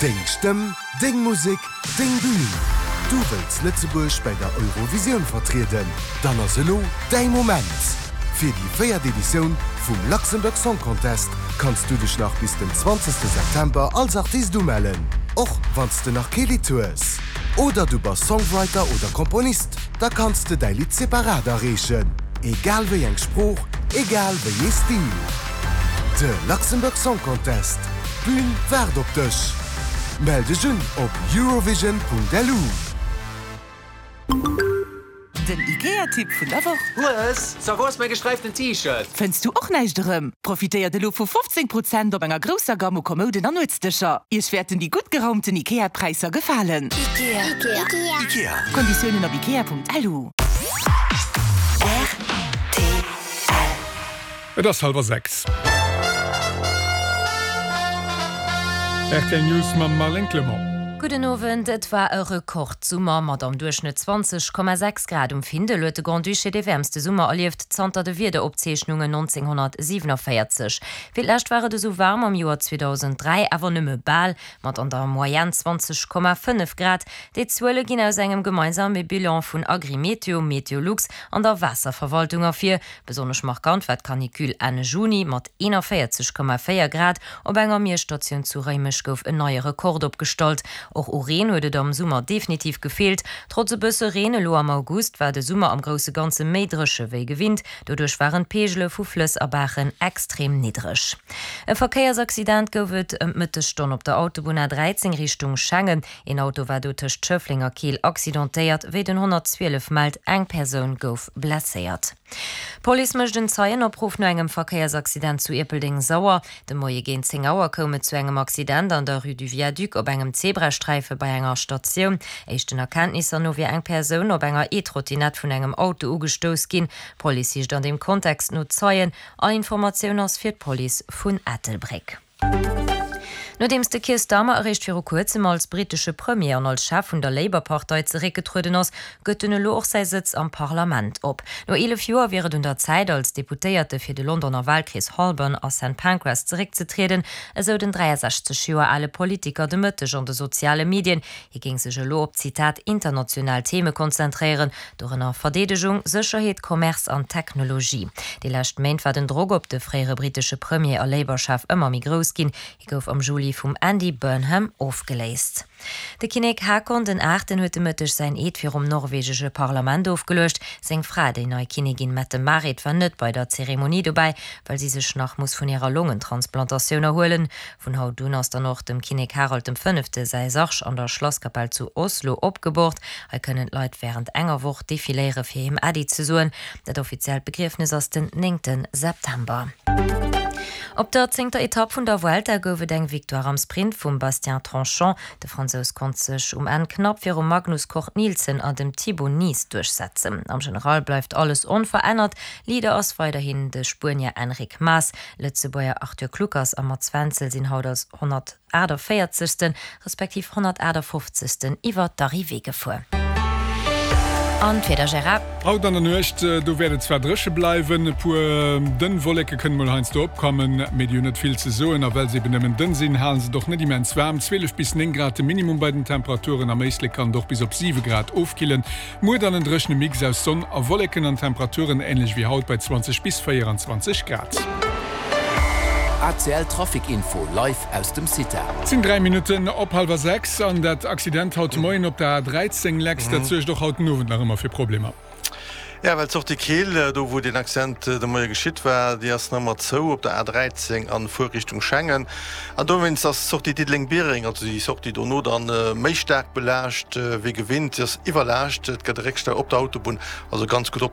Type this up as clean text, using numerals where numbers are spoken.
Deng Stëmm, deng Musek, deng Bühn! Du wëlls Lëtzebuerg bäi der Eurovisioun vertrieden? Dann ass elo däi Moment! Fir déi véiert Editioun vum Luxembourg Song Contest kanns du dech nach bis den 20 September als Artist umellen, och wann s de nach kee Lidd hues. Oder du bass Songwriter oder Komponist, da kanns de däi Lidd separat areechen, egal wéi eng Sprooch, egal wéi ee Stil. De Luxembourg Song Contest, d'Bün waart op dech! Mell dech un op eurovision.lu. Den IKEA-Tipp vun der Woch. Hues, so wou ass mäi gesträiften T-Shirt? Fënns du och näischt erëm? Profitéiert elo vu 15 Prozent op enger grousser Gamme u Kommouden an Nuetsdëscher. Iech wäerten déi gutt geraumten IKEA-Präisser gefalen. Ikea. Ikea. Konditiounen op ikea.lu. Rtl. Et ass hallwer 6. Rtl News mam Marlène Clement. Gudden Owend. Et war e Rekordsummer. Mat am Duerchschnëtt 20,6 Grad um Findel huet de Grand-Duché dee wäermste Summer erlieft zanter de Wiederopzeechnungen 1947. Fir d'lescht war et esou waarm am Joer 2003, awer nëmme bal, mat an der Moyenne 20,5 Grad. Déi Zuele ginn aus engem gemeinsame Bilan vun Agrimeteo, Meteolux an der Waasserverwaltung ervir. Besonnesch markant war d'Canicule Enn Juni mat 41,4 Grad. Op enger Miesstatioun zu Réimech gouf en neie Rekord opgestallt. Och u Reen huet et am Summer definitiv gefeelt. Trotz e bësse Reen elo am August war de Summer am grousse Ganze méi dréche wéi gewinnt. Doduerch waren d'Peegele vu Flëss a Baachen extrem niddreg. E Verkéiersaccident gouf et ëm d'Mëttesstonn op der Autobunn A13 Richtung Schengen. Een Auto war do tëscht Schëffleng a Keel accidentéiert, wéi den 112 mellt. Eng Persoun gouf blesséiert. D'Police mécht en Zeienopruff no engem Verkéiersaccident zu Ierpeldeng-Sauer. De Moie géint 10 Auer koum et zu engem Accident an der Rue du Viaduc op engem Zebrasträife bei enger Statioun. Éischten Erkenntnisser no wier eng Persoun op enger E-Trottinett vun engem Auto ugestouss ginn. D'Police sicht an deem Kontext no Zeien. All Informatioun ass fir d'Police vun Ettelbréck. Nodeems de Keir Starmer eréischt viru kuerzem als brittesche Premier an als Chef vun der Labour-Partei zeréckgetrueden ass, gëtt en elo och säi Sëtz am Parlament op. No 11 Joer wier et un der Zäit, als Deputéierte fir de Londoner Walkrees Holborn a St Pancras zeréckzetrieden, esou den 63 Joer ale Politiker de Mëtteg an de soziale Medien. Hie géing sech elo op, Zitat, international Theme konzentréieren, dorënner Verdeedegung, Sécherheet, Commerce an Technologie. Déi lescht Méint war den Drock op de fréiere brittesche Premier a Labour-Chef ëmmer méi grouss ginn. Hie gouf am Juli vum Andy Burnham ofgeléist. De Kinnek Haakon den Aachten huet de Mëtteg säin Eed virum norwegesche Parlament ofgeluecht. Seng Fra, déi nei Kinnigin Mette-Marit, war net bei der Zeremonie dobäi, well si sech nach muss vun hirer Longentransplantatioun erhuelen. Vun haut un ass dann och dem Kinnek Harald dem Fënnefte säi Sarg an der Schlasskapell zu Oslo opgebohrt. Hei kënnen d'Leit wärend enger Woch defiléiere fir him Äddi ze soen. Dat offiziellt Begriefnes ass den néngte September. Op der zéngter Etapp vun der Vuelta gouf et eng Victoire am Sprint vum Bastien Tronchon. De Fransous konnt sech um Enn knapp virum Magnus Cort Nielsen an dem Thibau Nys duerchsetzen. Am General bleift alles onverännert, Leader ass weiderhin de Spuenier Enric Mas. Lëtzebuerger Arthur Kluckers a Mats Wenzel sinn haut als 148. Respektiv 158. Iwwer d'Arrivée gefuer. An d'Wieder, Gérard? Haut an der Nuecht, do wäert et zwar dréche bleiwen, e puer dënn Wolleke kënnen mol heiansdo opkommen, mee déi hunn net vill ze soen a well se eben nëmmen dënn sinn, hale se et och net immens waarm. 12 bis 9 Grad de Minimum bei den Temperaturen, am Éislek kann et och bis op 7 Grad ofkillen. Muer dann en dréchene Mix aus Sonn a Wolleken an Temperaturen änlech wéi haut bei 20 bis 24 Grad. ACL Trafic Info live aus dem CITA. Et sinn 3 Minutten op hallwer 6 an dat Accident haut de Moien op der A13 Lex, dat suergt och haut den Owend nach ëmmer fir Problemer. Jo, well d'Sortie Keel, do wou deen Accident de Moie geschitt war, déi ass nach ëmmer zou op der A13 an Fuerrichtung Schengen. An dowéinst ass d'Sortie Diddeleng-Biereng, also déi Sortie dono, dann méi staark belaascht wéi gewinnt. Si ass iwwerlaascht, et gëtt e Réckstau op der Autobunn, also ganz gutt oppassen.